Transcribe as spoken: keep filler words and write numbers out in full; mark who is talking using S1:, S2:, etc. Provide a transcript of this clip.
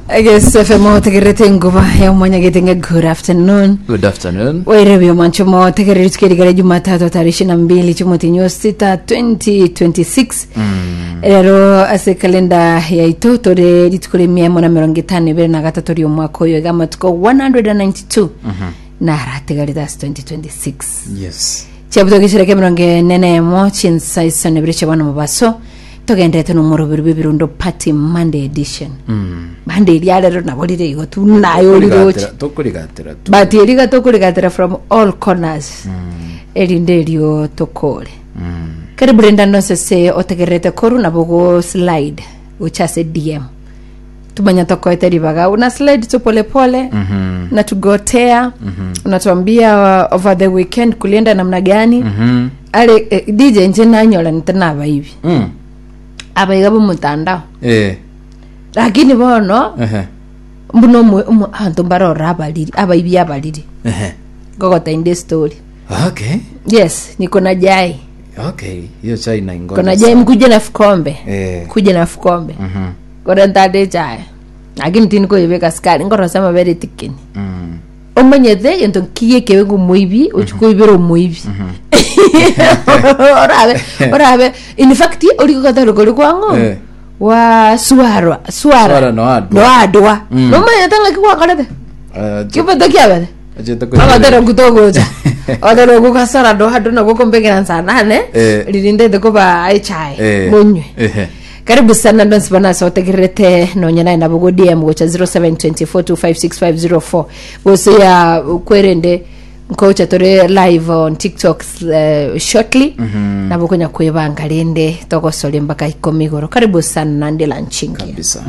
S1: Eges F M otegererete enguba ya omwanyagete nge good afternoon.
S2: Good afternoon.
S1: Wairebia omwancho motegereri tukerigara Jumatatu tarehe ishirini na mbili chimotinyo sita twenty twenty-six. Rero ase kalenda yaito tore rituko ria mia emo na mirongo itano ibere na gatato ria omwaka oyo, iga amatuko one hundred and ninety-two naratigarete ase twenty twenty-six.
S2: Yes.
S1: Chiabuto gicireke mirongo ene na emo chinsa isano ibere chia bono mobaso, togendete nomoroberi bw'ebirundo party Monday edition. Monday ria rero nabo rire igo tu nayo oriroche.
S2: Tokorigatera tu.
S1: But eriga tokorigatera from all corners, erinde erio tokore. Karibu renda nonse se otegererete koru nabo go slide gocha ase D M, tumanya tokoete ribaga, una slide tu polepole mm-hmm. na tugotea mm-hmm. unatuambia uh, over the weekend kulienda namna gani
S2: Mhm.
S1: Ale eh, D J, nche nanyola nitenabaibi
S2: Mm.
S1: abaiga bomutandao,
S2: Eh.
S1: lakini bono
S2: Ehe.
S1: mbuno omwe- omwe- abanto mbarora abariri abaibi abariri.
S2: Ehe.
S1: Ngogotainde story.
S2: Okay.
S1: Yes, niko na jai.
S2: Okay. Hiyo chai na ingoja.
S1: Kona jai, mkuje na fukombe.
S2: Eh.
S1: Kuja na fukombe.
S2: Mhm.
S1: Kora ntade chai, lakini tini koyebeka sukari ngorosa amabere tikini.
S2: Mm.
S1: Omanyete gento kiye kebe ngomoibi ochikoibera omoibi orabe orabe in fact orikogataro kori kwang'o
S2: Eh.
S1: wa suarwa suara.
S2: Swara no adwa.
S1: No adwa.
S2: Mm.
S1: Nomanyete ng'aki gwakorete
S2: Eh,
S1: kiboto kiabete.
S2: Achete
S1: Agatera kutogocha agatera gukasara do hado na gukombekera saa nane
S2: Eh.
S1: ririndete kuba echai
S2: Eh.
S1: munywe.
S2: Ehe.
S1: Karibu sana ndonsi bana sotegerete nonya naye nabo go D M gocha zero seven two four two five six five zero four gose ya kwerende nkocha tore live on TikTok uh, shortly mm -hmm. nabo konya kwebanga rende togosore mpaka ikomi igoro. Karibu sana nande lanchingi.
S2: Kabisa.